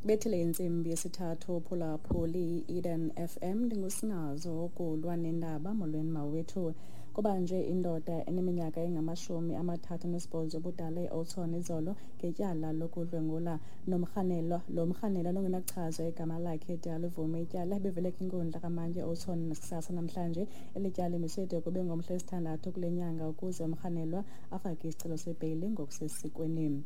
Bethile intsimbi yesithathu, phulaphuli i-Eden FM, ndingusinazo ukulwa nendaba. Molweni mawethu. Kubanjwe indoda eneminyaka engama-38 ubudala eOudtshoorn izolo ngetyala lokudlwengula nomrhanelwa. Lo mrhanelwa nongenakuchazwa igama lakhe de alivume ityala, ebevele kwinkundla kamantyi eOudtshoorn kusasa namhlanje. Eli tyala limiswe de kube ngomhla wesithandathu kule nyanga ukuze umrhanelwa afake isicelo sebheyile ngokusesikweni.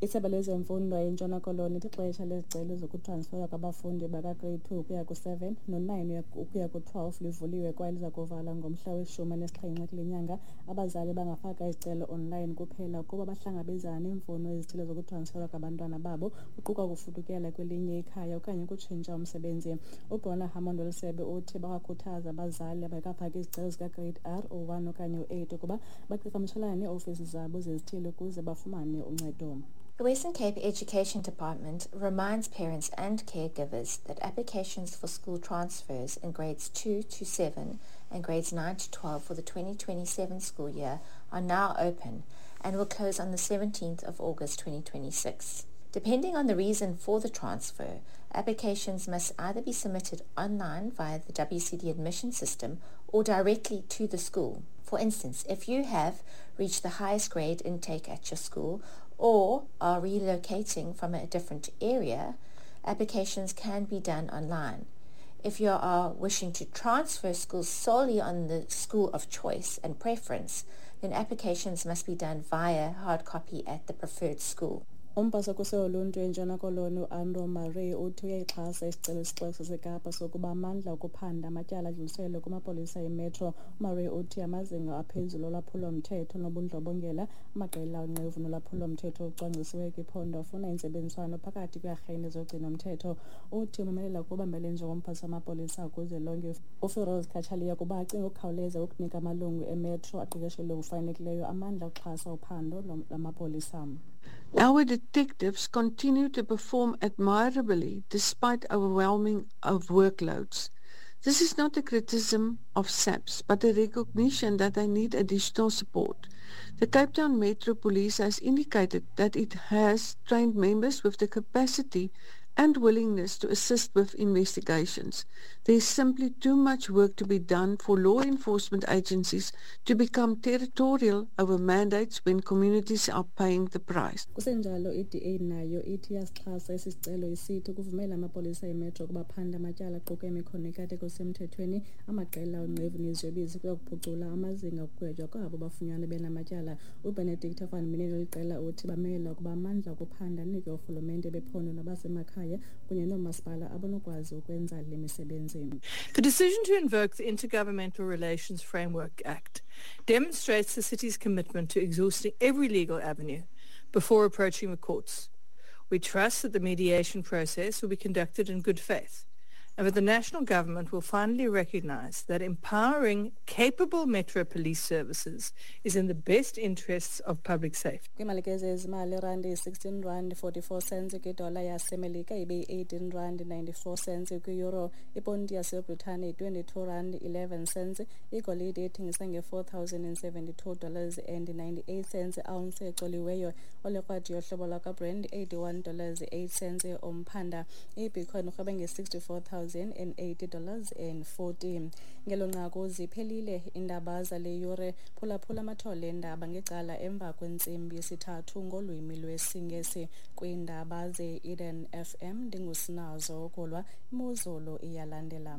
Isebe lezemfundo eNtshona Koloni lithi ixesha lezicelo zokutransferwa kwabafundi bakaGrade 2 ukuya ku-7 no-9 ukuya ku-12 livuliwe kwaye liza kuvalwa ngomhla we-17 kule nyanga. Abazali bangafaka izicelo online kuphela ukuba bahlangabezana neemfuno ezithile zokutransferwa kwabantwana babo, kuquka ukufudukela kwelinye ikhaya okanye ukutshintsha umsebenzi. UBrona Hammond welisebe uthi bawakhuthaza abazali abangekafaki izicelo zikaGrade R, u-1 okanye u-8 ukuba baqhagamshelane nee-ofisi zabo zezithili ukuze bafumane uncedo. The Western Cape Education Department reminds parents and caregivers that applications for school transfers in grades 2 to 7 and grades 9 to 12 for the 2027 school year are now open and will close on the 17th of August 2026. Depending on the reason for the transfer, applications must either be submitted online via the WCD admission system or directly to the school. For instance, if you have reached the highest grade intake at your school or are relocating from a different area, applications can be done online. If you are wishing to transfer schools solely on the school of choice and preference, then applications must be done via hard copy at the preferred school. Umphathiswa woluntu eNtshona Koloni uAnroe Murray uthi uyayixhasa isicelo sesixeko saseKapa sokuba amandla okuphanda amatyala adluliselwe kumapolisa eMetro. UMurray uthi amazinga aphezulu olwaphulo-mthetho nobundlobongela, amaqela onqevu nolwaphulo-mthetho olucwangcisiweyo kwiphondo afuna intsebenziswano phakathi kweearhente zogcino-mthetho. Uthi umemelela kubambele njengomphathiswa wamapolisa kuzwelonke uFiroz Cachalia ukuba acinge ukukhawuleza ukunika amalungu eMetro aqeqeshelwe ngokufanelekileyo amandla okuxhasa uphando lwamapolisa. Our detectives continue to perform admirably despite overwhelming of workloads. This is not a criticism of SAPS, but a recognition that they need additional support. The Cape Town Metro Police has indicated that it has trained members with the capacity and willingness to assist with investigations. There is simply too much work to be done for law enforcement agencies to become territorial over mandates when communities are paying the price. Kusenjalo, i-DA nayo ithi iyasixhasa esi sicelo, isithi ukuvumela amapolisa eMetro ukuba aphande amatyala aquka imikhono ikateko semthethweni, amaqela onqevu neziyobisi kuya kuphucula amazinga okugwetywa kwabo bafunyanwa benamatyala. UBenedicta van Minnen weliqela uthi bamela ukuba amandla okuphanda anikwe oorhulumente bephondo nabasemakhaya kunye noomasipala abanokwazi ukwenza le misebenzi. The decision to invoke the Intergovernmental Relations Framework Act demonstrates the city's commitment to exhausting every legal avenue before approaching the courts. We trust that the mediation process will be conducted in good faith and that the national government will finally recognize that empowering capable Metro Police services is in the best interests of public safety. Kwiimalike zezimali, irandi yi-16 rand 44 cents kwidola yaseMelika, ibe yi-18 rand 94 cents kwi-euro. Iponti yaseBritane yi-22 rand 11 cents. Igolide ithengisa nge-$4,072 and 98 cents ounce ecoliweyo. Olekrwada yohlobo lwakwaBrent, $81 8 cents umphanda. IBitcoin irhweba nge-$64,080 and 40. Ngelo nqaku ziphelile iindaba zale yure. Phulaphula amathole eendaba ngecala emva kwentsimbi yesithathu ngolwimi lwesiNgesi kwiindaba ze-Eden FM. Ndingusinazo Kulwa. Imozulu iyalandela.